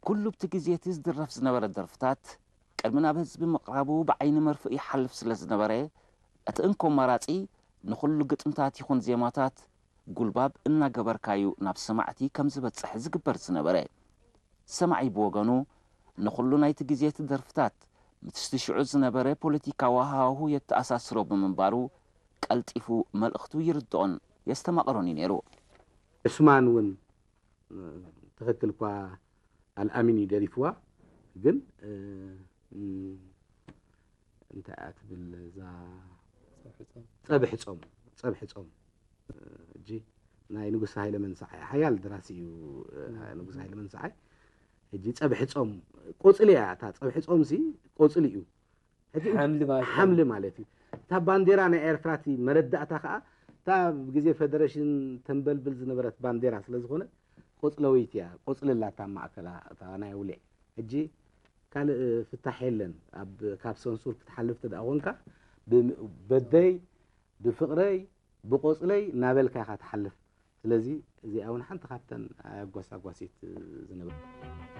ኩሉ ብቲ ግዜ እቲ ዝድረፍ ዝነበረ ደርፍታት ቅድሚ ናብ ህዝቢ ምቕራቡ ብዓይኒ መርፍእ ይሓልፍ ስለ ዝነበረ፣ እቲ እንኮ መራጺ ንኹሉ ግጥምታት ይኹን ዜማታት ጉልባብ እናገበርካዩ ናብ ሰማዕቲ ከም ዝበጽሕ ዝግበር ዝነበረ። ሰማዒ ብወገኑ ንኹሉ ናይቲ ግዜ እቲ ደርፍታት ምስቲ ሽዑ ዝነበረ ፖለቲካዊ ሃዋሁ የተኣሳስሮ ብምንባሩ ቀልጢፉ መልእኽቱ ይርድኦን የስተማቕሮን እዩ ነይሩ። ዑስማን እውን ትኽክል እኳ ኣልኣሚን እዩ ደሪፍዋ፣ ግን እንታይ እያ ትብል እዛ ጸብሒ ጾም ጸብሒ ጾም እጂ ናይ ንጉስ ሃይለ መንሰዓይ ሓያል ደራሲ እዩ። ንጉስ ሃይለ መንሰዓይ እጂ ጸብሒ ጾም ቆጽሊ እያ እታ ጸብሒ ጾም ሲ ቆጽሊ እዩ። ሓምሊ ማለት እዩ። ሓምሊ ማለት እዩ። እታ ባንዴራ ናይ ኤርትራ እቲ መረዳእታ ከዓ እታ ግዜ ፌደሬሽን ተንበልብል ዝነበረት ባንዴራ ስለ ዝኾነ ቆጽለወይቲ እያ። ቆጽሊ ኣላታ ማእከላ እታ ናይ ውልዕ። ሕጂ ካልእ ፍታሕ የለን። ኣብ ካብ ሰንሱር ክትሓልፍ ተደኣ ኮንካ በደይ ብፍቕረይ ብቆጽለይ እናበልካ ኢኻ ትሓልፍ። ስለዚ እዚኣ እውን ሓንቲ ካብተን ኣጓሳጓሲት ዝነበረ